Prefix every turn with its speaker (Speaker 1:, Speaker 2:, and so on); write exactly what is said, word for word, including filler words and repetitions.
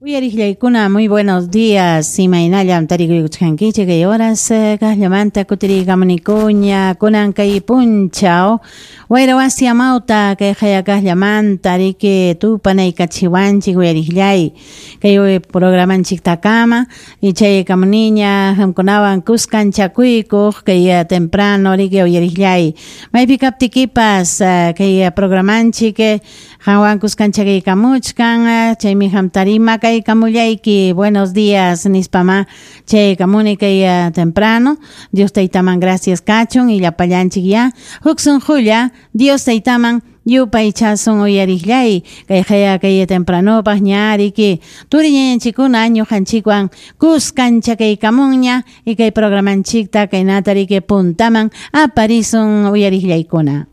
Speaker 1: Uyariqllaykuna, muy buenos días. Imaynallam tarikuykuchkankichik kay horas kaqllamanta kutiriykamunikuña kunan kay punchaw wayra wasi amawta kay haya kaqllamanta riki tupanaykachiwanchik uyariqllay kay programanchiktakama y chaykamuniña qamkunawan kuskanchakuykuq kay temprano riki uyariqllay maypi kaptikipas kay programanchik qanwan kuskanchakuykamuchkan chaymi qamtarima kay kamullayki buenos días nispama chaykamuni kay temprano Dios taytaman gracias kachun y llapallanchik ya huk sunqulla Dios taytaman yupaychasun uyariqllay kay haya kay tempranopaq ña riki turi ñañanchikkuna ñuqanchikwan kuskanchakaykamunña y kay programanchikta kaynata riki puntaman aparisun uyariqllaykuna.